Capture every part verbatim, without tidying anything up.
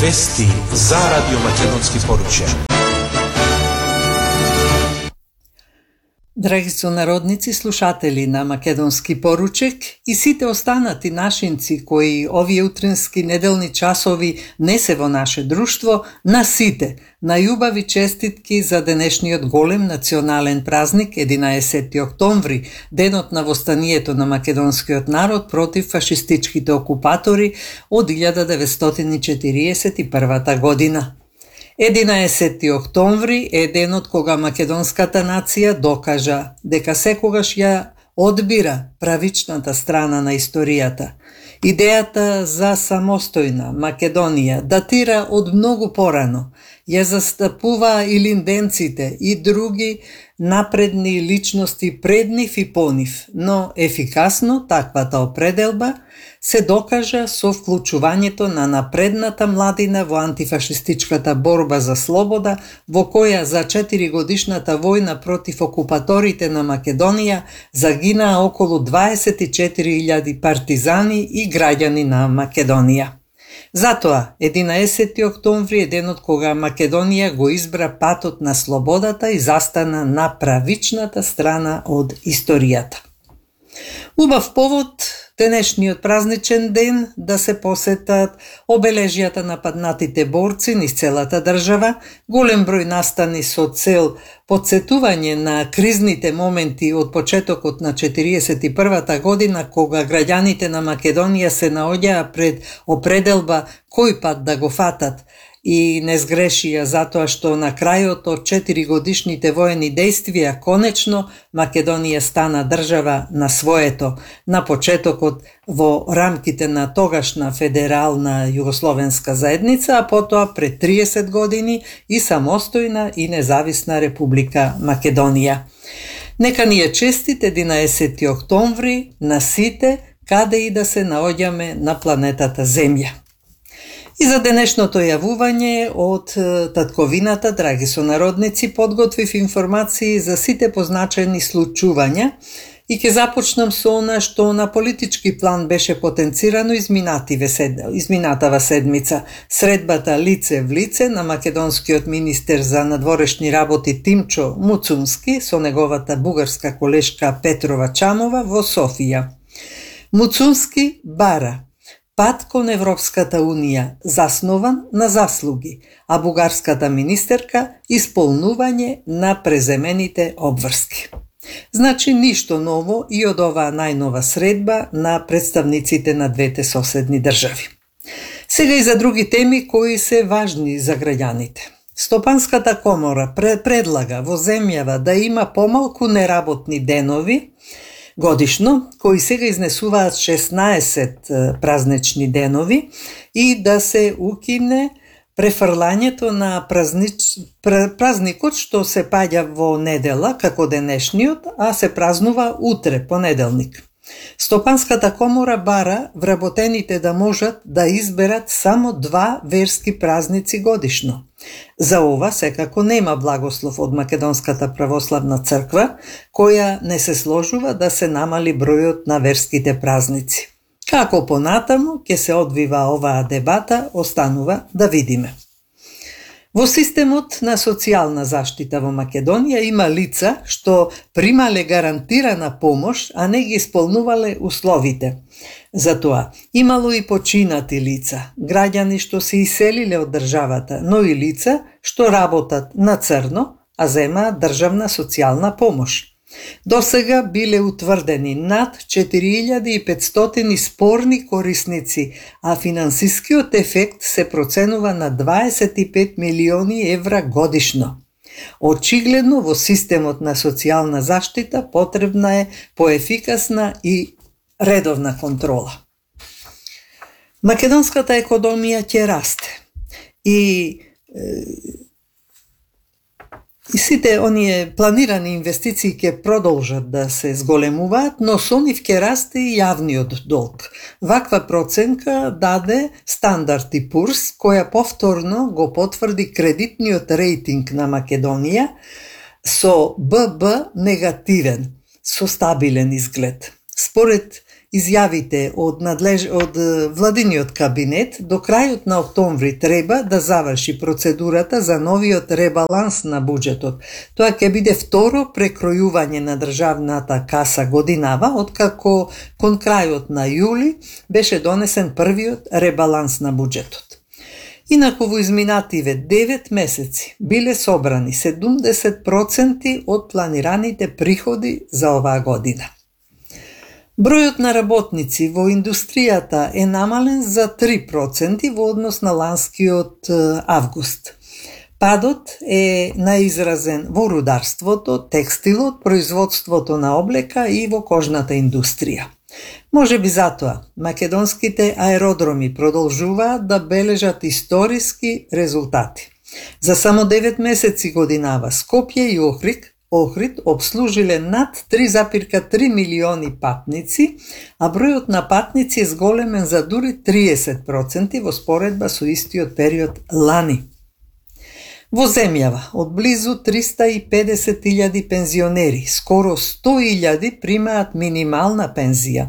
Вести за Радио Македонски поруче. Драги сонародници, слушатели на Македонски поручек и сите останати нашинци кои овие утрински неделни часови не се во наше друштво, на сите најубави честитки за денешниот голем национален празник единаесети октомври, денот на востанието на македонскиот народ против фашистичките окупатори од илјада деветстотини четириесет и прва година. единаесети октомври е денот кога македонската нација докажа дека секогаш ја одбира правичната страна на историјата. Идејата за самостојна Македонија датира од многу порано. Ја застапува и линденците и други напредни личности пред нив и по нив, но ефикасно таквата определба се докажа со вклучувањето на напредната младина во антифашистичката борба за слобода, во која за четиригодишната војна против окупаторите на Македонија загинаа околу дваесет и четири илјади партизани и граѓани на Македонија. Затоа, единаесети октомври е денот кога Македонија го избра патот на слободата и застана на правичната страна од историјата. Убав повод денешниот празничен ден да се посетат обележјата на паднатите борци низ целата држава, голем број настани со цел потсетување на кризните моменти од почетокот на четириесет и прва година, кога граѓаните на Македонија се наоѓаа пред определба кој пат да го фатат, и не сгрешија затоа што на крајот од четиригодишните воени дејствија конечно Македонија стана држава на своето, на почетокот во рамките на тогашна федерална југословенска заедница, а потоа пред триесет години и самостојна и независна република Македонија. Нека ни е честит единаесети октомври на сите, каде и да се наоѓаме на планетата Земја. И за денешното јавување од татковината, драги сонародници, подготвив информации за сите позначени случувања и ќе започнам со она што на политички план беше потенцирано изминатава седмица. Средбата лице в лице на македонскиот министер за надворешни работи Тимчо Муцунски со неговата бугарска колешка Петрова Чамова во Софија. Муцунски бара пат кон Европската Унија заснован на заслуги, а бугарската министерка исполнување на преземените обврски. Значи ништо ново и од оваа најнова средба на представниците на двете соседни држави. Сега и за други теми кои се важни за граѓаните. Стопанската комора предлага во земјава да има помалку неработни денови годишно, кои сега изнесуваат шеснаесет празнични денови, и да се укине префрлањето на празнич... празникот што се паѓа во недела, како денешниот, а се празнува утре, понеделник. Стопанската комора бара вработените да можат да изберат само два верски празници годишно. За ова секако нема благослов од Македонската православна црква, која не се сложува да се намали бројот на верските празници. Како понатаму ќе се одвива оваа дебата, останува да видиме. Во системот на социјална заштита во Македонија има лица што примале гарантирана помош, а не ги исполнувале условите. Затоа, имало и починати лица, граѓани што се иселиле од државата, но и лица што работат на црно, а земаат државна социјална помош. До сега биле утврдени над четири илјади и петстотини спорни корисници, а финансискиот ефект се проценува на дваесет и пет милиони евра годишно. Очигледно во системот на социјална заштита потребна е поефикасна и редовна контрола. Македонската економија ќе расте и И сите оние планирани инвестиции ќе продолжат да се зголемуваат, но со нив ќе расте и јавниот долг. Ваква проценка даде Стандард и Пурс, која повторно го потврди кредитниот рейтинг на Македонија со Б Б негативен, со стабилен изглед. Според изјавите од, надлеж... од владиниот кабинет до крајот на октомври треба да заврши процедурата за новиот ребаланс на буџетот. Тоа ќе биде второ прекројување на државната каса годинава, откако кон крајот на јули беше донесен првиот ребаланс на буџетот. Инаку во изминативе девет месеци биле собрани седумдесет проценти од планираните приходи за оваа година. Бројот на работници во индустријата е намален за три проценти во однос на ланскиот август. Падот е наизразен во рударството, текстилот, производството на облека и во кожната индустрија. Може би затоа македонските аеродроми продолжуваат да бележат историски резултати. За само девет месеци годинава Скопје и Охрид, Охрид обслужиле над три запирка три милиони патници, а бројот на патници е зголемен за дури триесет проценти во споредба со истиот период лани. Во земјава од близу триста и педесет илјади пензионери, скоро сто илјади примаат минимална пензија,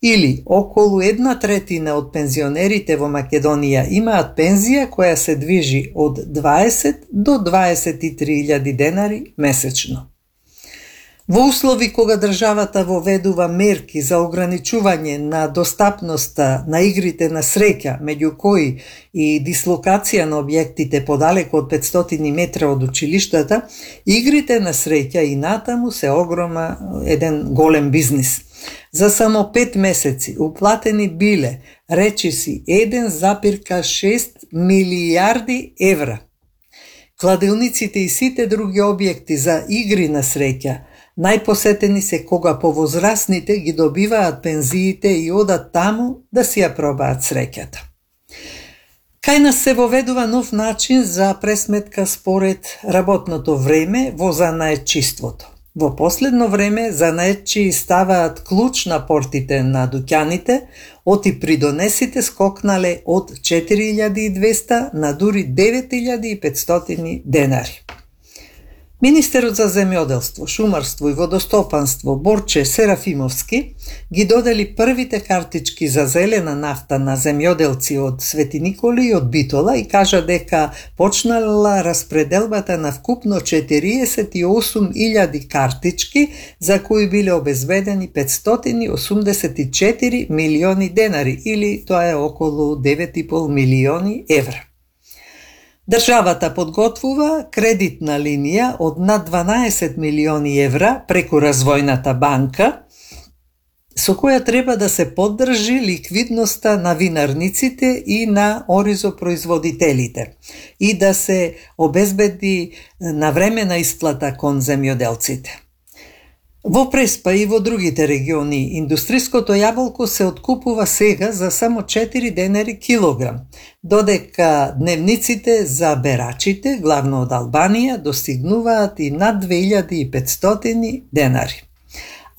или околу една третина од пензионерите во Македонија имаат пензија која се движи од дваесет до дваесет и три илјади денари месечно. Во услови кога државата воведува мерки за ограничување на достапноста на игрите на среќа, меѓу кои и дислокација на објектите подалеку од петстотини метра од училиштата, игрите на среќа и натаму се огрома еден голем бизнис. За само пет месеци уплатени биле, речиси, еден запирка шест милијарди евра. Кладилниците и сите други објекти за игри на среќа најпосетени се кога повозрасните ги добиваат пензиите и одат таму да си ја пробаат среќата. Кај нас се воведува нов начин за пресметка според работното време во занаетчиството. Во последно време занаетчи ставаат клуч на портите на дуќаните, оти придонесите скокнале од четири илјади и двесте на дури девет илјади и петстотини денари. Министерот за земјоделство, шумарство и водостопанство Борче Серафимовски ги додели првите картички за зелена нафта на земјоделци од Свети Николи и од Битола и кажа дека почнала распределбата на вкупно четириесет и осум илјади картички за кои биле обезбедени петстотини и осумдесет и четири милиони денари, или тоа е околу девет и пол милиони евра. Државата подготвува кредитна линија од над дванаесет милиони евра преку Развојната банка, со која треба да се поддржи ликвидноста на винарниците и на оризопроизводителите и да се обезбеди навремена исплата кон земјоделците. Во Преспа и во другите региони индустриското јаболко се откупува сега за само четири денари килограм, додека дневниците за берачите, главно од Албанија, достигнуваат и над две илјади и петстотини денари.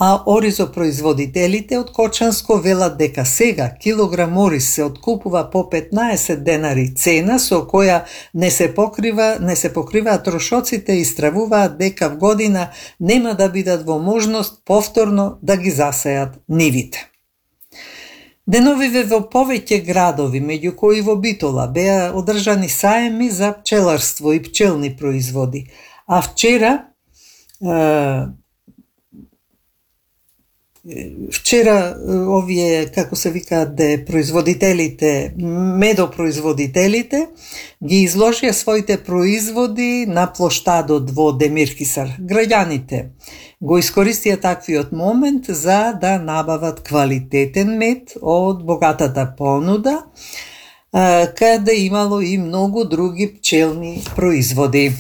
А оризопроизводителите од Кочанско велат дека сега килограм ориз се откупува по петнаесет денари цена со која не се покрива, не се покриваат трошоците и стравуваат дека в година нема да бидат во можност повторно да ги засеат нивите. Деновиве во повеќе градови, меѓу кои во Битола, беа одржани саеми за пчеларство и пчелни производи, а вчера е, Вчера овие, како се викаат, де производителите, медопроизводителите, ги изложија своите производи на плоштадот во Демирхисар. Граѓаните го искористија таквиот момент за да набават квалитетен мед од богатата понуда, каде имало и многу други пчелни производи.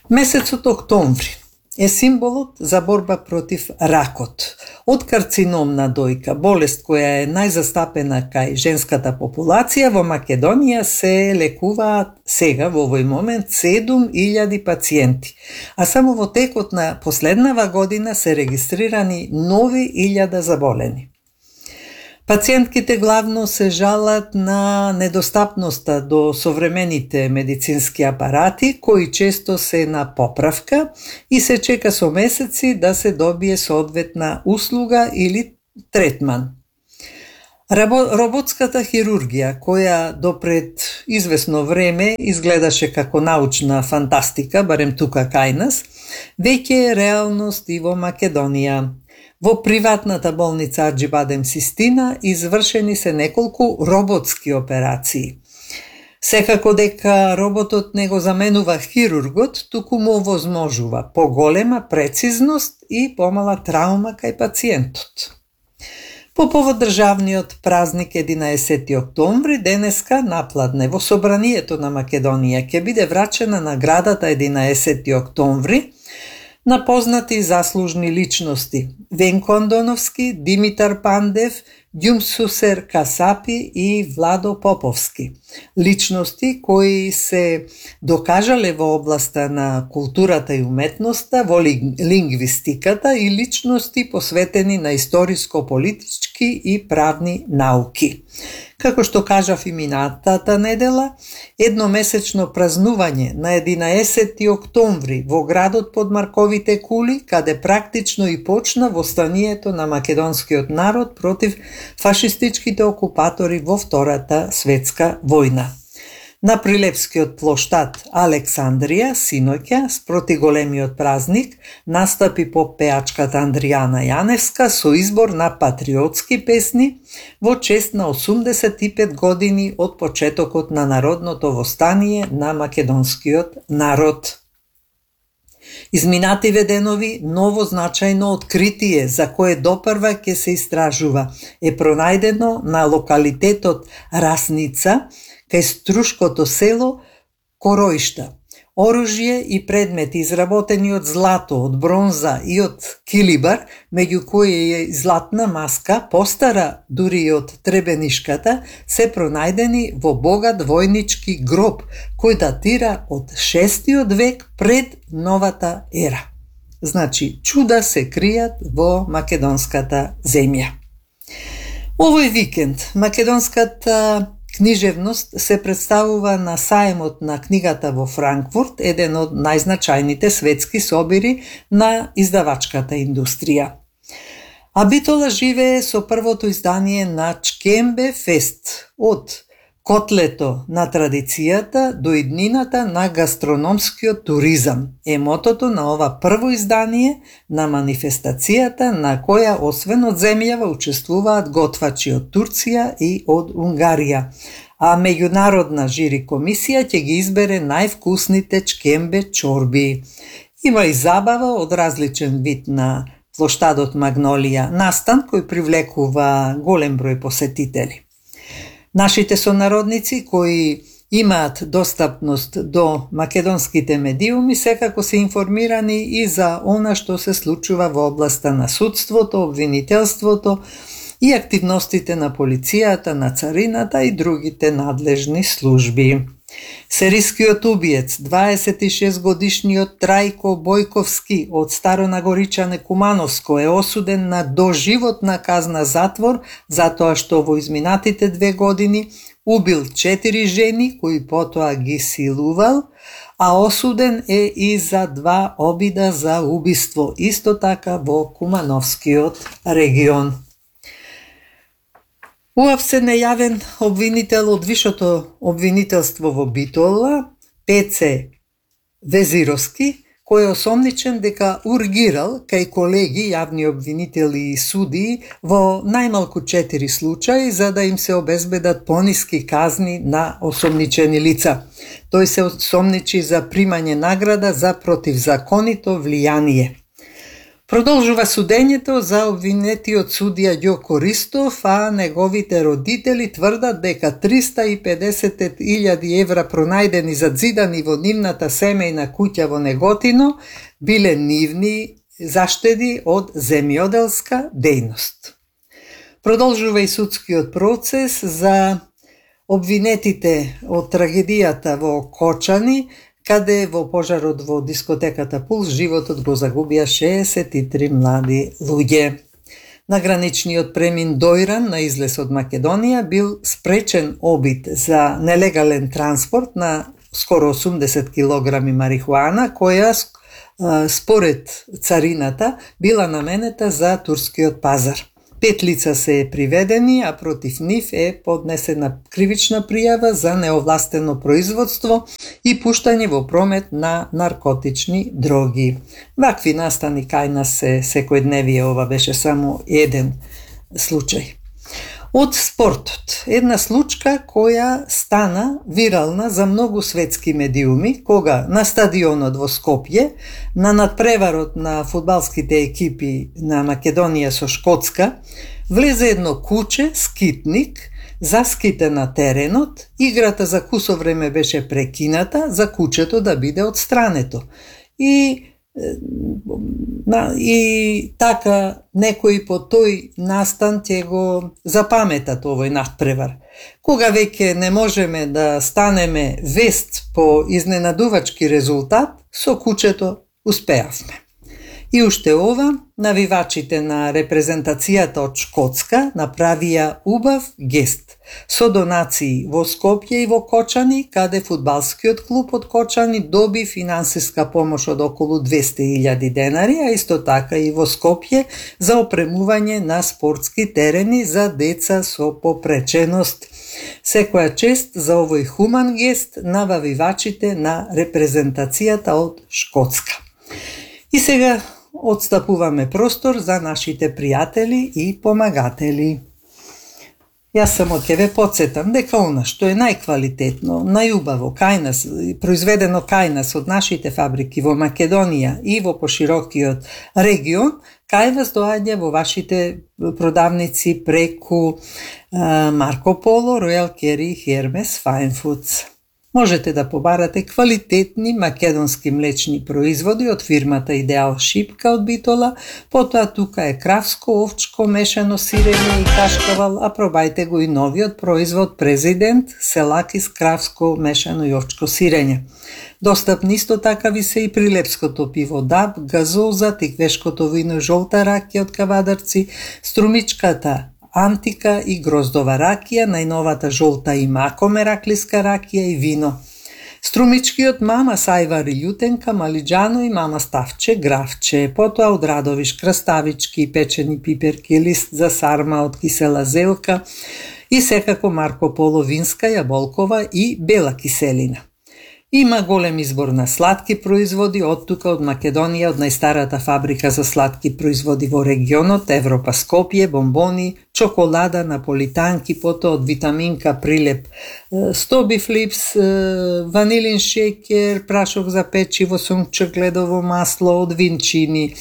Месецот октомври е символот за борба против ракот. Од карцином на дојка, болест која е најзастапена кај женската популација, во Македонија се лекуваат сега во овој момент седум илјади пациенти, а само во текот на последнава година се регистрирани нови илјада заболени. Пациентките главно се жалат на недостапноста до современите медицински апарати, кои често се на поправка и се чека со месеци да се добие соодветна услуга или третман. Роботската хирургија, која допред известно време изгледаше како научна фантастика, барем тука кај нас, веќе е реалност и во Македонија. Во приватната болница Аџибадем Систина извршени се неколку роботски операции. Секако дека роботот не го заменува хирургот, туку му овозможува поголема прецизност и помала траума кај пациентот. По повод државниот празник единаесети октомври, денеска напладне во Собранието на Македонија ќе биде врачена наградата единаесети октомври на познати заслужни личности Венко Андоновски, Димитар Пандев, Ѓумсусер Касапи и Владо Поповски. Личности кои се докажале во областа на културата и уметноста, во лингвистиката и личности посветени на историско-политички и правни науки. Како што кажав и минатата недела, едномесечно празнување на единаесети октомври во градот под Марковите кули, каде практично и почна востанието на македонскиот народ против фашистичките окупатори во Втората светска војна. На Прилепскиот плоштад Александрија, синоќа, спроти големиот празник, настапи попеачката Андријана Јаневска со избор на патриотски песни во чест на осумдесет и пет години од почетокот на народното востание на македонскиот народ. Изминативе денови ново значајно откритие за кое допрва ќе се истражува е пронајдено на локалитетот Расница, кај Струшкото село Короишта. Оружје и предмети изработени од злато, од бронза и од килибар, меѓу кои е златна маска, постара дури и од Требенишката, се пронајдени во богат војнички гроб, кој датира од шестиот век пред новата ера. Значи, чуда се кријат во македонската земја. Овој викенд македонската книжевност се представува на саемот на книгата во Франкфурт, еден од најзначајните светски собири на издавачката индустрија. А Битола живее со првото издание на Чкембе Фест, од котлето на традицијата до иднината на гастрономскиот туризам. Е мотото на ова прво издание на манифестацијата на која освен од земјава учествуваат готвачи од Турција и од Унгарија, а меѓународна жири комисија ќе ги избере највкусните чкембе чорби. Има и забава од различен вид на плоштадот Магнолија, настан кој привлекува голем број посетители. Нашите сонародници кои имаат достапност до македонските медиуми секако се информирани и за она што се случува во областа на судството, обвинителството и активностите на полицијата, на царината и другите надлежни служби. Серискиот убиец, дваесет и шест годишниот Трајко Бојковски од Старонагоричане Кумановско е осуден на доживотна казна затвор затоа што во изминатите две години убил четири жени кои потоа ги силувал, а осуден е и за два обида за убиство, исто така во Кумановскиот регион. Уапсе нејавен обвинител од вишото обвинителство во Битола, Пеце Везировски, кој е осомничен дека ургирал кај колеги јавни обвинители и судии во најмалку четири случаи за да им се обезбедат пониски казни на осомничени лица. Тој се осомничи за примање награда за противзаконито влијание. Продолжува судењето за обвинетиот судија Ѓоко Ристов, а неговите родители тврдат дека триста и педесет илјади евра пронајдени задзидани во нивната семејна куќа во Неготино биле нивни заштеди од земјоделска дејност. Продолжува и судскиот процес за обвинетите од трагедијата во Кочани, каде во пожарот во дискотеката Пулс животот го загубија шеесет и три млади луѓе. На граничниот премин Дојран на излез од Македонија бил спречен обид за нелегален транспорт на скоро осумдесет килограми марихуана, која според царината била наменета за турскиот пазар. Пет лица се приведени, а против нив е поднесена кривична пријава за неовластено производство и пуштање во промет на наркотични дроги. Вакви настани кај нас се секојдневие, ова беше само еден случај. Од спортот, една случка која стана вирална за многу светски медиуми, кога на стадионот во Скопје, на надпреварот на фудбалските екипи на Македонија со Шкотска, влезе едно куче, скитник, заските на теренот, играта за кусо време беше прекината за кучето да биде отстрането. И На, и така некои по тој настан ќе го запаметат овој надпревар. Кога веќе не можеме да станеме вест по изненадувачки резултат, со кучето успеавме. И уште ова, навивачите на репрезентацијата од Шкотска направија убав гест со донации во Скопје и во Кочани, каде фудбалскиот клуб од Кочани доби финансиска помош од околу двесте илјади денари, а исто така и во Скопје за опремување на спортски терени за деца со попреченост. Секоја чест за овој хуман гест на навивачите на репрезентацијата од Шкотска. И сега отстапуваме простор за нашите пријатели и помагатели. Јас само ќе ве подсетам дека она што е најквалитетно, најубаво кај нас, произведено кај нас од нашите фабрики во Македонија и во поширокиот регион, кај вас доаѓа во вашите продавници преку Марко Поло, Ројал Кери и Хермес Fine Foods. Можете да побарате квалитетни македонски млечни производи од фирмата Идеал Шипка од Битола, потоа тука е кравско, овчко, мешано сирење и кашкавал, а пробајте го и новиот производ Президент, селакис кравско, мешано и овчко сирење. Достапни исто така ви се и прилепското пиво Даб, газоза, тиквешкото вино Жолта ракија од Кавадарци, струмичката Антика и гроздова ракија, најновата жолта и мако мераклиска ракија и вино. Струмичкиот мама сајвар и љутенка, малиџано и мама ставче, графче, потоа од Радовиш краставички, печени пиперки, лист за сарма од кисела зелка и секако Марко Поло винска, јаболкова и бела киселина. Има голем избор на сладки производи од тука од Македонија, од најстарата фабрика за сладки производи во регионот, Европа Скопје, бомбони, чоколада, наполитанки, потоа од витаминка Прилеп, Стоби Флипс, ванилин шеќер, прашок за печиво, сунчогледово масло, од Винчини,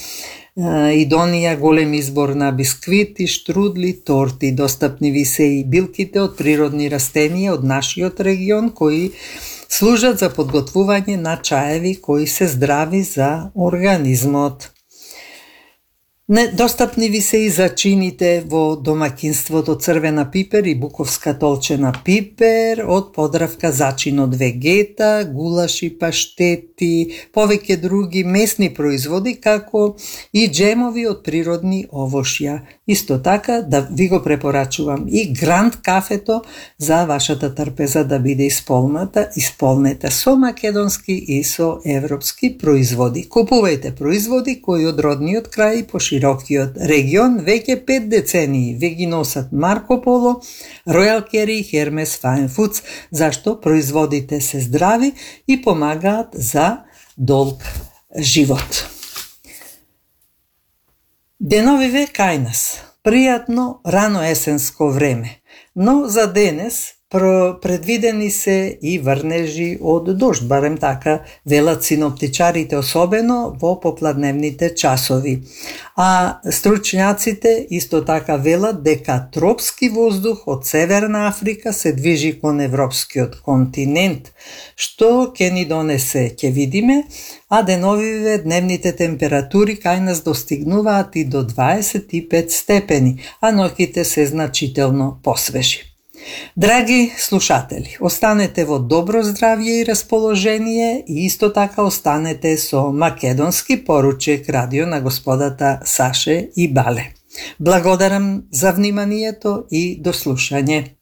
Идонија, голем избор на бисквити, штрудли, торти. Достапни ви се и билките од природни растенија од нашиот регион, кои служат за подготвување на чаеви кои се здрави за организмот. Недостапни ви се и зачините во домакинството црвена пипер и буковска толчена пипер, од Подравка зачин од вегета, гулаши, паштети, повеќе други месни производи, како и джемови од природни овошја. Исто така да ви го препорачувам и Гранд кафето за вашата трпеза да биде исполната, исполнета со македонски и со европски производи. Купувајте производи кои од родниот крај и поширокиот регион веќе пет децении ве ги носат Марко Поло, Ројал Кери и Хермес Fine Foods, зашто производите се здрави и помагаат за долг живот. Деновиве кај нас. Пријатно рано есенско време, но за денес предвидени се и врнежи од дожд, барем така велат синоптичарите, особено во попладневните часови. А стручњаците исто така велат дека тропски воздух од Северна Африка се движи кон европскиот континент, што ќе ни донесе, ќе видиме, а деновиве дневните температури кај нас достигнуваат и до дваесет и пет степени, а ноќите се значително посвежи. Драги слушатели, останете во добро здравје и расположение и исто така останете со македонски поручек радио на господата Саше и Бале. Благодарам за вниманието и до слушање.